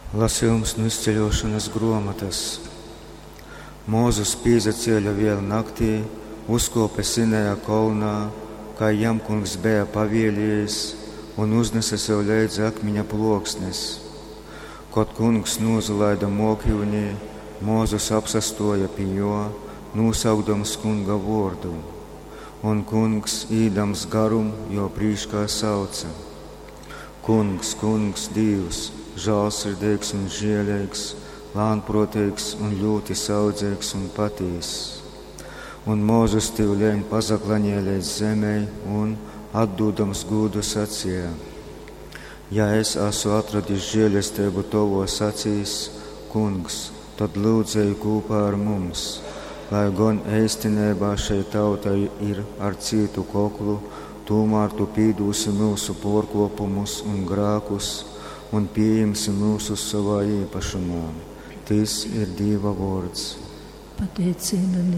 Lasījums nu izceļošanas gruomotas. Mūzus pīzacēļa viel naktī, uzkope Sinaja kolnā, kai jam kungs beja pavieliejis, un uznese sev leidzi akmiņa pluoksnes. Kod kungs nūzalaida muokiunī, Mūzus apsastuoja pi juo, nūsaukdams kunga vuordu. Un kungs, īdams garum, juo prīškā sauca: Kungs, kungs, Dīvs, žālsirdeigs un žieleigs, lānpruoteigs un ļūti saudzeigs un patīss. Un Mūzus tyuleņ pazaklaņēja leidz zemei un, atdūdams gūdu, sacīja: Ja es asu atradis žēlesteibu tovos acīs, kungs, tad lūdzu ej kūpā ar mums, lai gon eistineibā šei tauta ir ar cītu koklu, tūmār tu pīdūsi myusu puorkuopumus un grākus un pījimsi myusus sovā īpašumā. Tys ir Dīva vuords. Pateicība.